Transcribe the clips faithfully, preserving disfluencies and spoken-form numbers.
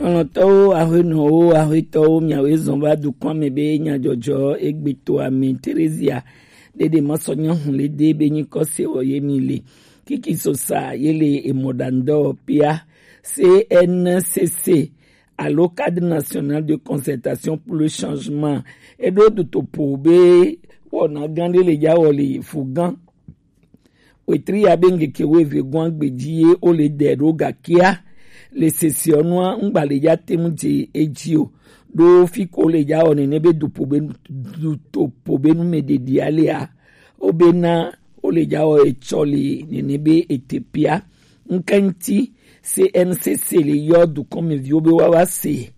Xlɔ̃tɔwo, aƒenɔwo, aƒetɔwo, miawoe zɔn va dukɔa me be nyadzɔdzɔ egbe to ame Terezia ɖeɖe masɔ nya hu le de be nyikɔ se wɔ ye mi le. Kiki sosa ye le emɔɖaŋdɔ pia C N C C alo Cadre National de Concertation pour le Changement. Eɖo dutopo be wɔna gã ɖe le dza wɔ le fu gã wetri ya be ŋkeke wuieve gɔ̃a gbe dzi ye wole dɛ ɖo gakea le sesiɔnua ŋgba le dza te ŋu dze edzi o. Ɖo fi ko le dza wɔ nene be dupo be dutopo be nu me ɖeɖi alea, wobena wole dza wɔ etsɔ le nene be etepia ŋkɛŋti C N C C le yɔ dukɔmeviwo be woava se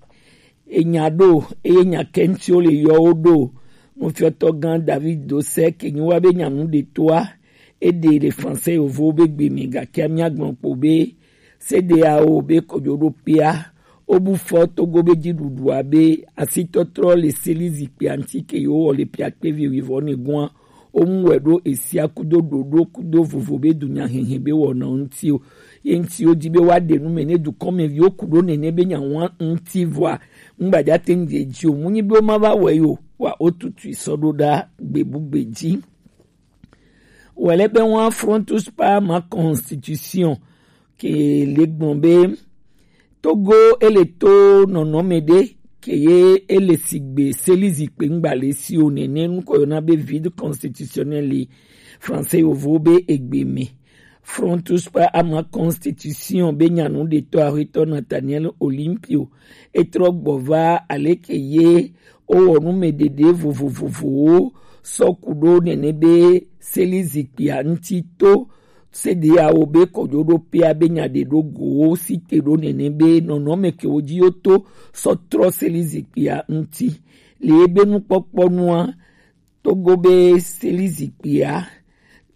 enya ɖo, eye nya kɛŋtiwo le yɔ wo ɖo. Nufiɔtɔ gã David Dosek nyi wa be nyanu ɖe toa, eɖe le Fransɛ yovowo be gbe me, gake míagblɔ kpo be C D A O be kojoɖoƒea wobu fɔ Togo be dziɖuɖua be asitɔtrɔ le seli zikpia ŋuti ke yewo wɔ le piakpevi wivɔ ne gɔ̃a. Womu wɛ ɖo esia kudo ɖoɖo kudo vovo be dunyahehe be wɔna ŋuti o. Ye ŋuti wodi be woaɖe nu me ne dukɔmeviwo ku ɖo nene be nyawa ŋuti vɔa ŋgbadza te ŋu dze dzi o. Mu nyi be woma va wɔe o, wa wotutui sɔ ɖo ɖa gbebugbe dzi. Wòle be woa Frontus par ma constitution ke le gblɔ be Togo ele to nɔnɔme ɖe ke ye ele sigbe seli zikpe ŋgba le si o nene nukɔ yɔna be vide constitutionnel le Fransɛ yovo be egbe me. Frontus par ama constitution be nyanu ɖetɔ aƒetɔ Nathaniel Olympio etrɔ gbɔ va aleke ye wowɔ nu me ɖeɖe vovovovowo sɔ ku ɖo nene be seli zikpia ŋuti to C D A O be kɔjoɖoƒea be nya ɖe ɖo go wo si te ɖo nene be nɔnɔme ke wo dzi yo to sɔ trɔ seli zikpia ŋuti. Le ebe nukpɔkpɔ nua, Togo be seli zikpia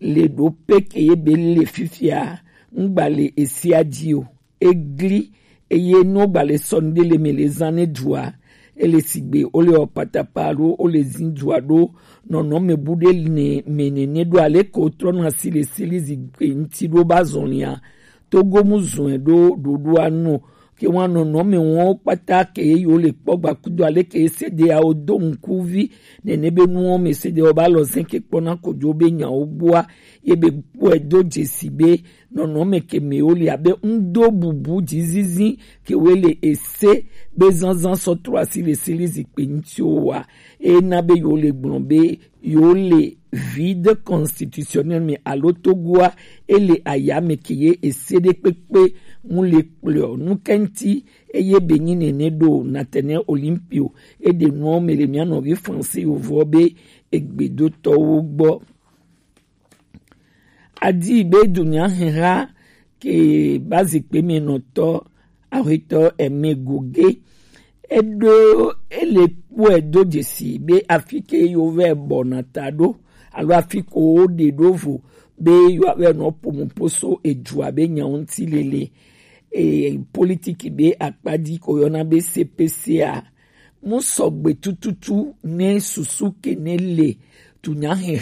le ɖo pe ke ye be le fifia ŋgba le esia dzi o. Egli eye no gba le sɔ ŋde le me le zan ne dua. Ele sigbe o le ɔ patapa alo o le zin dua ɖo nɔnɔme bu ɖe ne me nene ɖo ale ko trɔ na si le seli zikpe ŋuti ɖo ba zɔn lia. Togo mu zɔn ɖo ɖoɖoa nu ke wa nɔnɔme wɔn kpata ke ye yo le kpɔ gba kudo ale ke C D A O do ŋkuvi nene be nuwo me C D A O ba lɔ zɛn ke kpɔna kojo be nyawo gbɔa ye be kpɔe do dzesi be nɔnɔme ke me wo le abe ŋdo bubu dzizizi ke wo le ese be zanzan sɔ trɔ asi le seli zikpe ŋuti wo wa. Ena be yo le gblɔ be yo le vide constitutionnel me alo Togoa ele aya me ke ye ese ɖe kpekpe ŋu le kplɔ nu kɛŋti eye be nyi nene ɖo Nathaniel Olympio eɖe nuɔ me le mia nɔvi Fransɛ yovo be egbedotɔwo gbɔ. Adi be dunyaheha ke ba zikpe me nɔtɔ aƒetɔ Aimé Gogué eɖo ele kpɔe do dzesi be afi ke yo vɛ bɔna ta ɖo alo afi ko wo ɖe ɖo vo be yo vɛ nɔ pomupo so edua be nya ŋuti lele e politiki be akpadi ko yɔna be C P C a mu sɔgbe tututu ne susu ke ne le dunyaheha